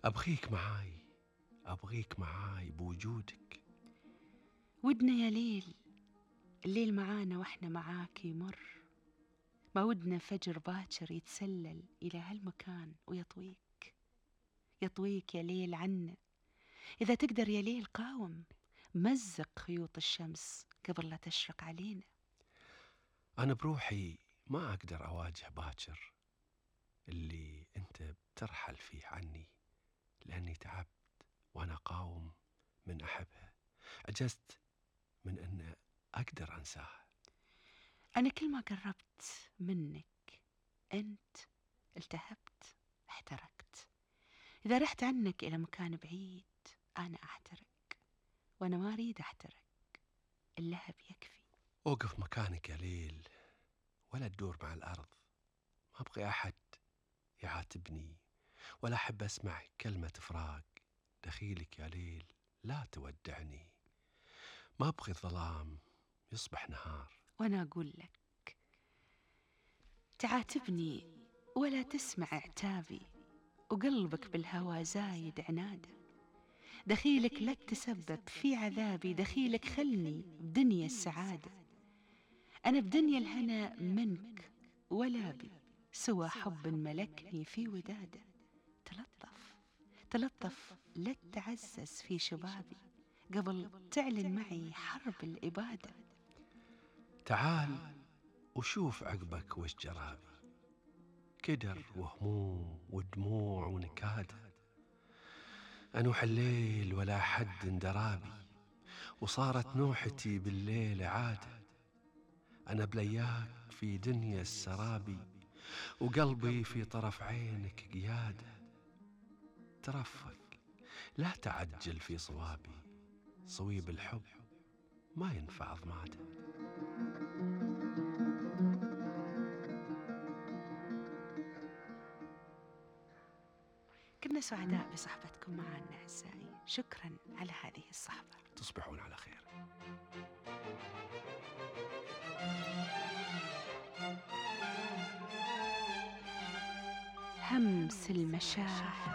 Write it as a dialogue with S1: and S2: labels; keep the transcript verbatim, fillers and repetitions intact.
S1: أبغيك معاي، أبغيك معاي بوجودك.
S2: ودنا يا ليل، الليل معانا وإحنا معاك يمر، ما ودنا فجر باكر يتسلل إلى هالمكان ويطويك. يطويك يا ليل عنا، إذا تقدر يا ليل قاوم، مزق خيوط الشمس قبل لا تشرق علينا.
S1: أنا بروحي ما أقدر أواجه باكر اللي أنت بترحل فيه عني، لأني تعبت وأنا قاوم من أحبها، عجزت من أن أقدر أنساها.
S2: أنا كل ما قربت منك أنت التهبت، احترقت. إذا رحت عنك إلى مكان بعيد أنا أحترق، وأنا ما أريد أحترق، اللهب يكفي.
S1: أوقف مكانك يا ليل ولا تدور مع الأرض. ما أبغي أحد يعاتبني ولا أحب أسمع كلمة فراق. دخيلك يا ليل لا تودعني، ما أبغي الظلام يصبح نهار.
S2: وأنا أقول لك تعاتبني ولا تسمع عتابي، وقلبك بالهوى زايد عناده. دخيلك لا تسبب في عذابي، دخيلك خلني بدنيا السعادة. أنا بدنيا الهنا منك ولا بي سوى حب ملكني في وداده. تلطف تلطف لا تعزز في شبابي قبل تعلن معي حرب الإبادة.
S1: تعال وشوف عقبك وش جرابي، كدر وهموم ودموع ونكادة. أنوح الليل ولا حد درابي، وصارت نوحتي بالليل عادة. أنا بلياك في دنيا السرابي، وقلبي في طرف عينك قيادة. ترفق لا تعجل في صوابي، صويب الحب ما ينفع ضماده.
S2: كنا سعداء بصحبتكم معنا أعزائي، شكرا على هذه الصحبة.
S1: تصبحون على خير.
S2: همس المشاعر